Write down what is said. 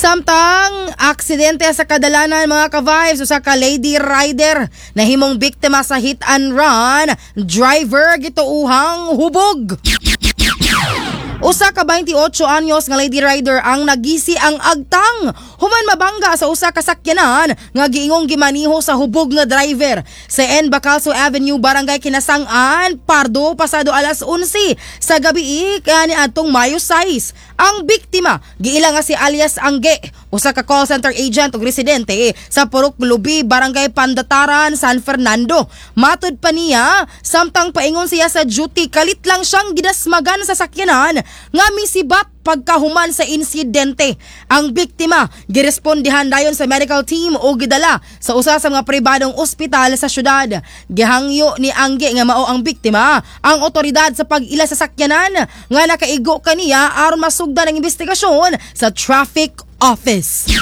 Samtang aksidente sa kadalanan, mga ka-vibes, usa ka lady rider nahimong biktima sa hit and run, driver gituuhang hubog. Usa ka 28 anyos nga lady rider ang nagisi ang agtang human mabangga sa usa ka sakyanan nga giingong gimaniho sa hubog nga driver sa N. Bacalso Avenue, Barangay Kinasangan, Pardo, pasado alas 11 sa gabi kani adtong Mayo 6. Ang biktima giila nga si alias Angge, usa ka call center agent ug residente sa Purok Lubi, Barangay Pandataran, San Fernando. Matud pa niya, samtang paingon siya sa duty, kalit lang siyang gidasmagan sa sakyanan nga misibat pagkahuman sa insidente. Ang biktima girespondehan dayon sa medical team o gidala sa usa sa mga pribadong ospital sa syudad. Gihangyo ni Angge nga mao ang biktima ang otoridad sa pag-ila sa sakyanan nga nakaigo kaniya aron masugdan ang investigasyon sa traffic office.